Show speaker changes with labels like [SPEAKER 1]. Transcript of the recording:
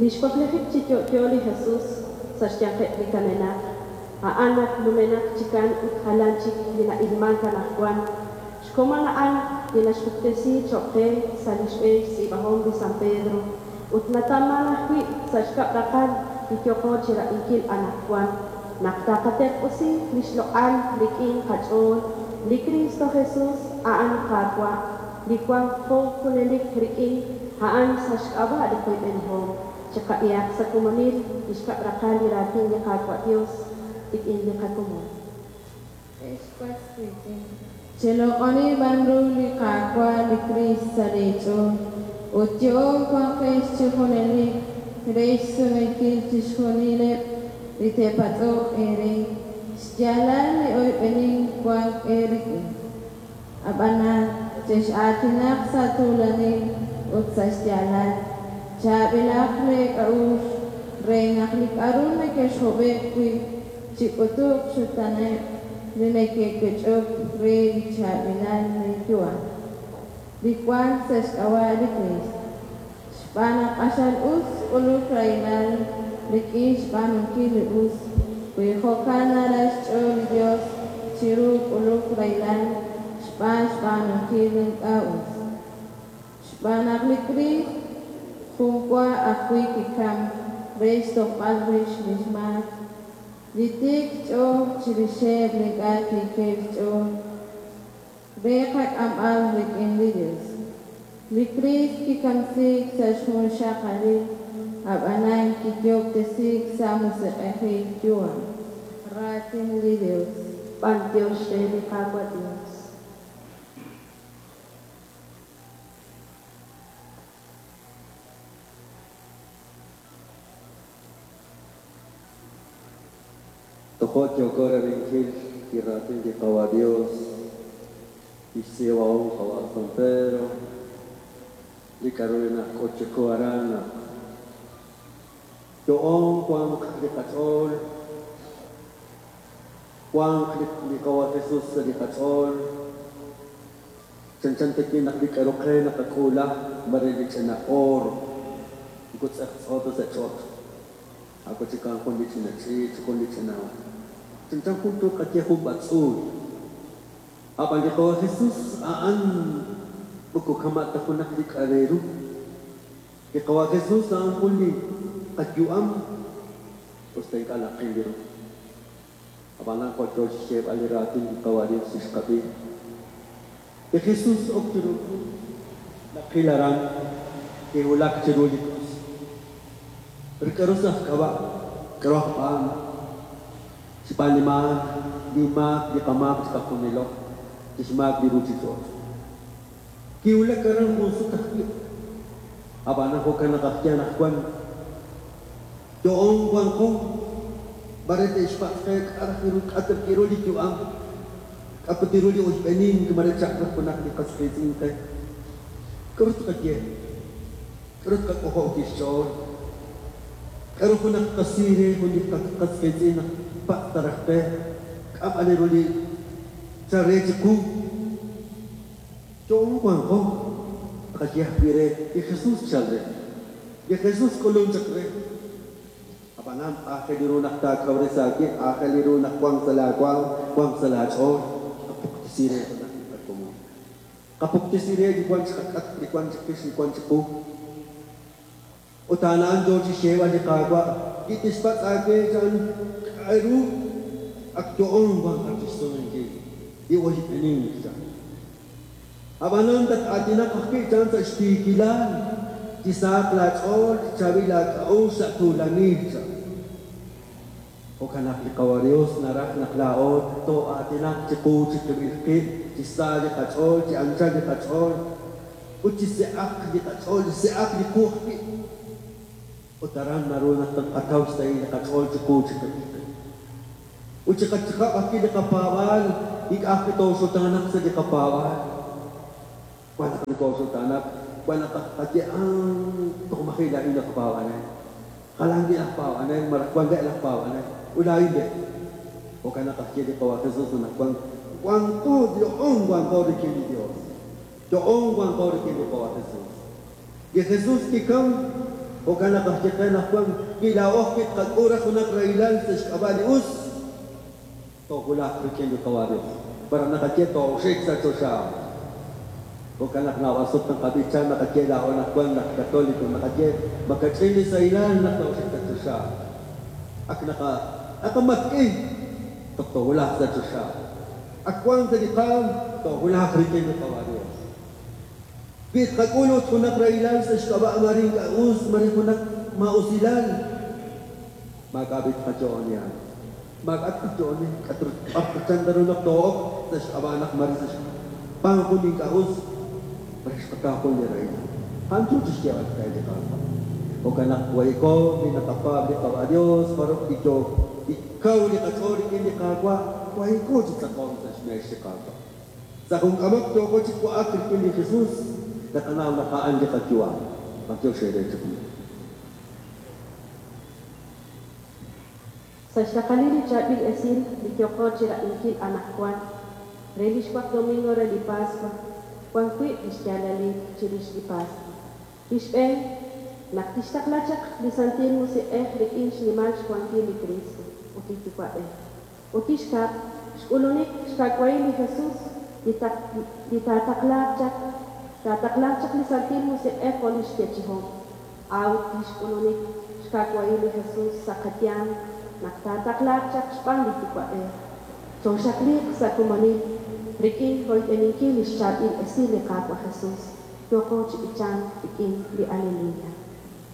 [SPEAKER 1] Lix waklijik chi yo'yo li Jesus sa' xyanqeb' li kamenaq, a'an ak numenaq chikan ut jalan chik li na'ilmank anajwan. Xkomon a'an li naxpuktesi choq' qe sa' li xb'een xtz'iib'ahom li San Pedro ut natawman ajwi' sa' xkab' raqal li yooqo chirab'inkil anajwan, naq taqaterq'usi lix loq'al rik'in qach'ool, li Kristo Jesus a'an Qaawa', li wanqo junelik rik'in a'an sa' xk'ab'a' li qoyb'enihom. Chiqab'ihaq sa' komonil li xkab' raqal li raatin li Qaawa' Dios rik'in li qakomon.
[SPEAKER 2] Ex was wiitz'in, cheloq'oni b'an ru li Qaawa' li Kriist sa' leech'ool, ut yo'oon wanqex chi junelik re xsumenkil chixjunileb' li te'patz'oq eere xyaalal li oyb'enink wank eerik'in. Ab'anan chex'aatinaq sa' tuulanil ut sa' xyaalal, chaab'ilaq leek'a'uxl re naq li k'aru nekexhob'e'k wi' chik'utuq xxutaaneb' li neke'wech'ok re li chaab'ilal leeyu'am, li wank sa' xk'ab'a' li Kriist. Xb'aan naq q'axal us k'uluk rahilal rik'in xb'aanunkil li us, wi jo'kan naraj xch'ool li Yos, chiru k'uluk rahilal xb'aan xb'aanunkil li ink'a' us. Xb'aan naq li Kriist jun wa ajwi' kikamk re xtojb'al rix li xmaak, li tiik xch'ool chirixeb' li ink'a' tiikeb' xch'ool, re qak'amb'al rik'in li Yos. Li Kriist kikamsiik sa' xjunxaqalil, ab'anan kiyoob'tesiik sa' musiq'ejil yu'am. Raatin li Yos.
[SPEAKER 1] B'antiox re li Qaawa' Dios.
[SPEAKER 3] Tojo' yooko rab'inkil li raatin li Qawa' Dios, lix tz'iib'ahom Qawa' San Pedro, li k'a'ru li nak'ut chiqu aran naq yo'oon wanq li qach'ool, wanq li Qawa' Jesus sa' li qach'ool, chanchan ta wi' naq li k'a'ru qe naqak'uula mare li ch'ina oro, moko tz'eqtz'o ta sa' ch'och'. Ako chikan jun li ch'ina ch'iich', jun li ch'ina chanchan jun tuqaye jun b'atz'uul. Ab'an li Qawa' Jesus a'an moko kama' ta junaq li k'a' re ru. Li Qawa' Jesus a'an jun li qayu'am us ta ink'a' naqil ru. Ab'anan jo' yo chi xyeeb'al li raatin li Qawa' Dios li xqab'i. Li Jesus ok chiru krus, naqil aran kiwulak chiru li krus. Pero k'aru sa' xk'ab'a'? K'aru aj b'aan? Xb'aan li maak, li maak, li qamaak chiqajunilo, li xmaak li ruuchich'och'. Kiwulak aran jun sut ajwi'. Ab'anan jo'kan naq aj ye anaqwan, yo'oon wanqo, mare te'xpatz' qe k'a' raj ru k'a' ta ru li yu'am, k'a' put ru li oyb'enink mare chaq raj junaq li qas qiitz'in qe. K'aru tqaye? K'aru tqak'ojob' wi' xch'ool? K'aru junaq tqasi re jun li qas qiitz'in naq patz' ta raj qe? K'a' b'an ru li chal re chiqu? Yo'oon wanqo, tqaye ajwi' re li Jesus chal re. Li Jesus k'ulun chaq re. Ab'anan aajel ru naq taakawresi aawib', aajel ru naq wanq sa' laawaanm, wanq sa' laach'ool, qapuktesi re junaq li qakomon. Qapuktesi re li wank chiqak'atq, li wank chiqix, li wank chiqu. Ut a'an yo chi xyeeb'al li Qaawa', li tixpatz' aawe chan k'aru ak yo'oon wanqat chi xsumenkil, li oyb'enink chan. Ab'anan tat-aatinaq ajwi' chan sa' xtiikilal, chi sahaq laach'ool, chi chaab'il laak'a'uxl sa' tuulanil chan. Jo'kan naq li Qawa' Dios naraj naq laa'o too'aatinaq chiqu chiqib'il qib', chi sa li qach'ool, chi anchal li qach'ool, ut chi se'aq li qach'ool, chi se'aq li qu ajwi'. Ut aran naru naq tqataw xsahil li qach'ool chiqu chiqib'il qib'. Ut chiqach'ajab' ajwi' li qapaab'aal, ink'a' ajwi' tooxutaanaq sa' li qapaab'aal. Wan naq nokooxutaanaq, wan naq tqaye, Toj maji' laa'in laj paab'anel. Jalan wi' laj paab'anel malaj wan re' laj paab'anel, ut laa'in re'. Jo'kan naq aj ye li Qawa' Jesus anaqwan, Wanqo, yo'oon wanqo rik'in li Yos. Yo'oon wanqo rik'in li Qawa' Jesus. Li Jesus kikamk. Jo'kan naq aj ye qe anaqwan, wi laa'o ajwi' tqak'ul raj junaq rahilal sa' xk'ab'a' li us, toowulaq rik'in li Qawa' Dios. Malaj naqaye tooxik sa' choxa. Jo'kan naq naab'al sut naqab'icha naqaye laa'o anaqwan laj Katoliko naqaye makach'in li sahilal naq tooxik sa' choxa. Ak naqa naqamatk'i toj toowulaq sa' choxa. Ak wank sa' li qaanm toowulaq rik'in li Qawa' Dios. Wi tqak'ul ut junaq rahilal sa' xk'ab'a' mare ink'a' us, mare junaq maa'usilal, maak'a' b'i' tqayo'oni a'an. Maak'a' tqayo'oni, k'aru b'ar chan ta ru naq too'ok sa' xk'ab'a' naq mare sa' xb'aan jun li ink'a' us, mare xqataw jun li rahilal. A'an yo chi xyeeb'al qe li Qaawa'. Jo'kan naq wayko li naqapaab' li Qawa' Dios, jarub' li yook li kaw li qach'ool rik'in li Qaawa', wayko chi tz'aqonk sa' xmeex li Qaawa'. Sa' jun k'amok yooko chi wa'ak rik'in li Jesus, naqanaw naq a'an li qayu'am. B'antiox eere chejunil.
[SPEAKER 1] Sa' xraqalil li chaab'il esil li yooqo chirab'inkil anaqwan, re li xwaq domingo re li Paswa, wan wiib' lix yaalalil chirix li Paswa. Li xb'een, naq tixtaqla chaq li Santil Musiq'ej rik'in xnimal xwankil li Kristo ut li Yuwa'b'ej. Ut li xkab', xk'ulunik xka'wahil li Jesus li li taataqlaaq chaq, taataqlaaq chaq li Santil Musiq'ej jo' lix yeechi'hom. A'ut lix k'ulunik xka'wahil li Jesus sa' qayanq naq taataqlaaq chaq xb'aan li Yuwa'b'ej. Chooxaqliiq sa' komonil rik'in royb'eninkil lix chaab'il esil li Qaawa' Jesus, yooqo chi b'ichank rik'in li Aleluya.